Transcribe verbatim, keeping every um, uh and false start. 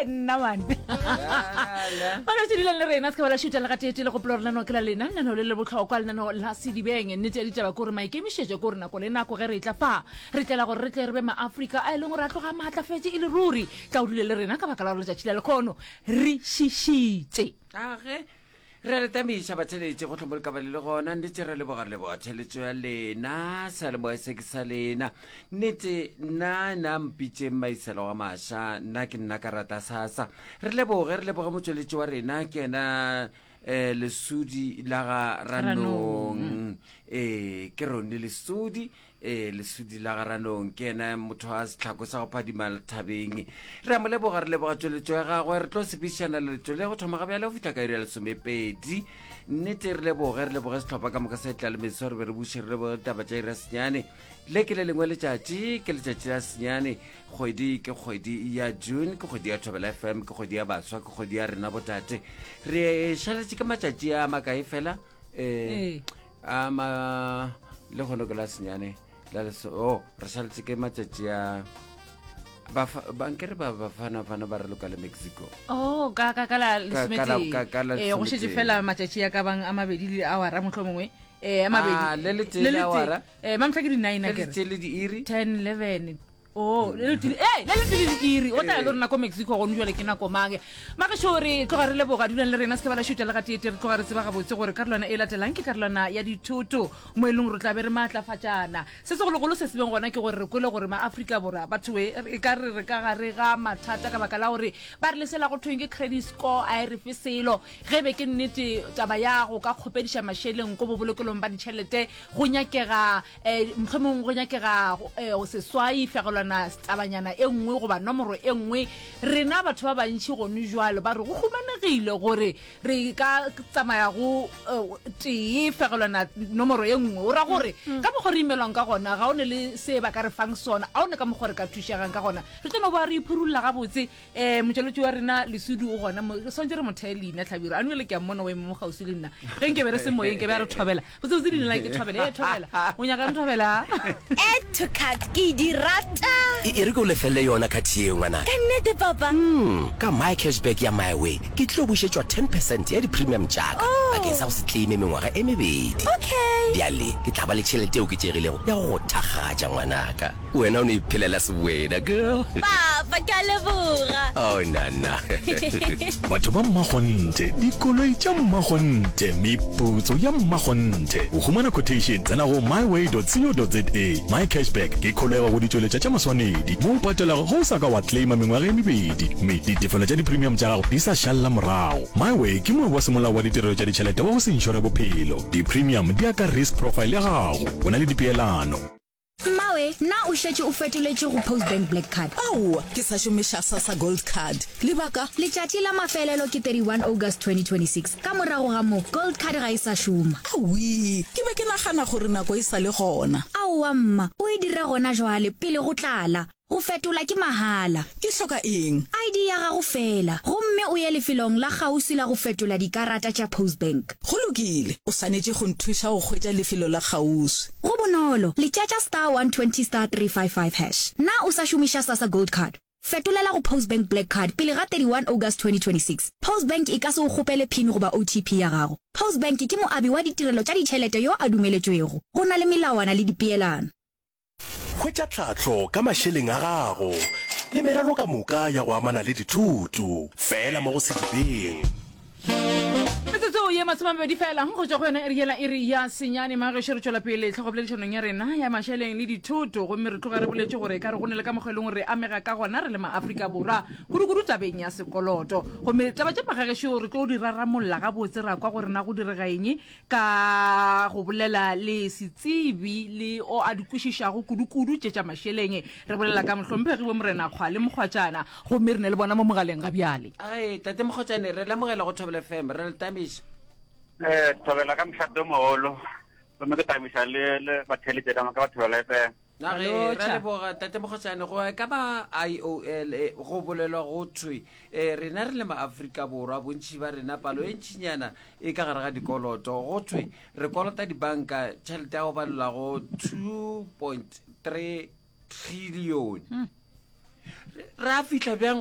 Nna man. Ba ka dulang le rena se ka ba la šuta le gateete le gopola gore lenaneo ke la lena, lenaneo le le bohlokwa, lenaneo la Sedibeng. Nnete ya ditaba ke gore maikemišetšo ke gore nako le nako ge re etla fa, re tlela gore re tle re be Maafrika a e leng gore a tloga a maatlafetše e le ruri. Tla o dule le rena ka baka la gore letšatši la lekhono re šišitše. Age re le tamiša batheletše go tlhomo le ka ba le le gona. Nnete re leboga, re leboga theletšo ya lena, seyalemoya se ke sa lena. Nnete nna nna mpitšeng Maiselo wa Maša, nna ke nna ka rata sasa. Re leboge, re leboge motšweletši wa rena, ke yena um Lesodi la ga Ranong, ee ke Rone Lesodi, ee Lesodi la ga Ranong, ke yena motho wa setlhako sa go phadima thabeng. Re a mo leboga, re leboga tšweletšo ya gagwe. Re tlo sepedišana leletšo le go thoma ga bjale go fihla ka iri ya lesomepedi. Nnete re leboge, re leboge sehlopha ka moka sa Tlalemeso, re be re buše re leboge ditaba tša iri ya senyane. Le ke le lengwe letšatši, ke letšatši la senyane, kgwedi ke kgwedi ya June, ke kgwedi ya Thobela F M, ke kgwedi ya baswa, ke kgwedi ya rena botate. Re šaletše ke matšatši a makae fela? Ee. Um a ma le kgono ke la senyane la leso, oh re šaletše ke matšatši a Bafa- bankere ba Bafanafana ba re loka le Mexico. Oh, ka ka ka la Ka- ka la- lesometee. ka- ka la Eh, go šetše lesometee. fela matšatši a ka bang a mabedi le awara mohlomongwe. Eh, a mabedi. Ah, le letee Le le letee. awara. Eh, mamhla ke di-nine Le akere. letee le diiri. Ten, eleven. Oh, le letee, eh, le letee le diiri. O tla ya le rena ko Mexico gone jwale ke nako mang. Magešo re tloga re leboga, dulang le rena se ke ba la šuta le gateete. Re tloga re tseba gabotse gore karolwana e latelang ke karolwana ya dithoto mo e leng gore tla be re maatlafatšana. Se segologolo se se beng gona ke gore re kwele gore Maafrika Borwa batho e e ka re re ka gare ga mathata ka baka la gore ba re lesela go thweng ke credit score a e re fe selo. Ge be ke nnete taba ya go ka kgopediša mašeleng ko bobolokelong ba ditšhelete go nyakega um mohlomong go nyakega um seswai fegelwana tabanyana e nngwe goba nomoro e nngwe. Rena batho ba bantši gone jwalo ba re go humanegile gore re ka tsamaya go eh, tee fegelwana nomoro e nngwe, o ra gore ka mokgwa re imelwang ka gona ga o ne le se ba ka re fang sona, a o ne ka mokgwa re ka thušegang ka gona. Re tlo no ba re iphurulla gabotse. um motšweletši wa rena Lesodi o gona mo, re swantse re mo theye leina Tlhabiro a nwele, ke a mmona o eme mo kgauswi le nna. Ge nke be re se moyeng ke be a re thobela botsebotse leina la ke thobela e thobela o nyakang thobela. Add to cart ke di rata. E e re ke o lefelele yona khathi yeo, ngwanaka. Ka nnete, Papa? Mm, ka My Cashback ya MiWay ke tlo bušetšwa ten percent ya di-premium tša ka bakeng sa go se claime mengwaga e mebedi. Okay. Bjale ke tla ba le tšhelete e oketšegilego ya go go thakgatša, ngwanaka. Wena o no iphelela sewena, girl. Papa, ke a leboga. Oh, nana. Batho ba mmakgonthe, dikoloi tša mmakgonthe, meputso ya mmakgonthe. Go humana quotation, tsena go myway dot co dot za. My Cashback ke kholego go ditšweletša tša maswanedi mo o patelago ge o sa ka wa claima mengwaga e mebedi mme ditefelo tša di-premium tša gago di sa šalla morago. MiWay ke moabi wa semolao wa ditirelo tša ditšhelete wa go se inšore bophelo. Di-premium di ya ka risk profile ya gago. Go na le dipeelano. Mmawe, na o šetše o fetoletše go Postbank Black Card? Aowa, ke sa šomiša SASSA Gold Card. Lebaka? Letšatši la mafelelo ke thirty-one August twenty twenty-six. Ka morago ga moo, Gold Card ga e sa šoma. Awi, ke be ke nagana gore nako e sa le gona. Aowa mma, o e dire gona jwale pele go tlala. Go fetola ke mahala. Ke hloka eng? I D ya gago fela, gomme o ye lefelong la kgauswi la go fetola dikarata tša Postbank. Go lokile, o swanetše go nthuša go hwetša lefelo la kgauswi. Go bonolo, letšatša star one twenty star three five five hash. Na o sa šomiša SASSA Gold Card? Fetolela go Postbank Black Card pele ga thirty-one August twenty twenty-six. Postbank e ka se o kgopele PIN goba O T P ya gago. Postbank ke moabi wa ditirelo tša ditšhelete yo a dumeletšwego. Go na le melawana le dipeelano. Hwetša tlhahlo ka mašeleng a gago le merero ka moka ya go amana le dithuto fela mo go Sedibeng. Metsotso ye masomemabedi fela go tšwa go yona iri yela iri ya senyane. Magešo re tšwela pele tlhogopoledišanong ya rena ya mašeleng le dithoto, gomme re tloga re boletše gore ka re go ne le ka mokgwa e leng gore re amega ka gona re le Maaforika Borwa, kudukudu tabeng ya sekoloto. Gomme taba tše magagešo re tlo di raramolla gabotse, ra kwa gore na go direga eng ka go bolela le setsebi le o a di kwešišago kudukudu tše tša mašeleng. Re bolela ka mohlomphegi bo Morena Kgwale Mokgwatšana, gomme re ne le bona mo mogaleng ga bjale. Ai tate Mokgotšane, re lemogela go Thobela F M, re le tamiša. um thobela ka mošate o mogolo, gomme ke tamiša le le batheletše ka moka ba Thobela F M. Na ge Lotšha. re leboga tate Mokgotšane. Go ka ba I O L eh, go bolelwa go thwe um rena re le Maaforika Borwa, bontšhi ba rena, palo e ntšhinyana e ka gare ga dikoloto. Go thwe re kolota dibanka tšhelete ya go balelwa go two point three trillion. Re a fitlha bjang?